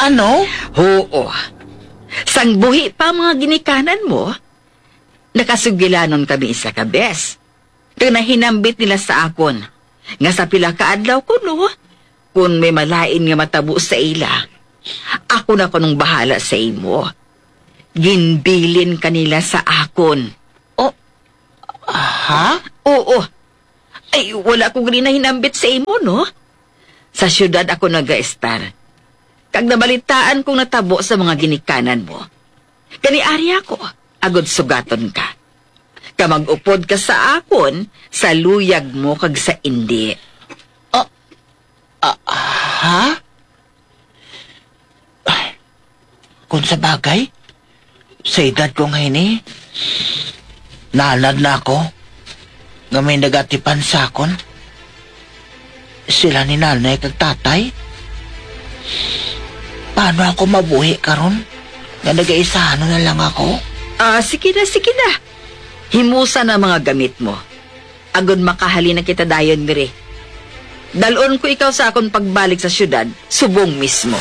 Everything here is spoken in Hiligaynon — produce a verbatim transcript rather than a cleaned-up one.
Ano? Oo. Sang buhi pa ang mga ginikanan mo, nakasugilanon kami isa ka bes. Kag nahinambit nila sa akon nga sa pila ka adlaw kuno, kun may malain nga matabo sa ila, ako na kunong bahala sa imo. Ginbilin ka nila sa akon. Oh, ha? Oo. Ay, wala ko gani nahinambit sa imo, no? Sa siyudad ako nagaestar. Kag nabalitaan kong natabo sa mga ginikanan mo. Kani ari ako, agod sugaton ka. Ka mag-upod ka sa akon sa luyag mo kag sa indi. Ah, ah, ha? Ay, kung sa bagay, sa edad ko nga ini, nanad na ako nga may nagatipan sa akon. Sila ni nanay kag tatay. Paano ako mabuhi karon nga nagaisahan na lang ako? Ah, sige na, sige na. Himusa na mga gamit mo. Agod makahalin na kita dayon diri. Dalon ko ikaw sa akon pagbalik sa siyudad, subong mismo.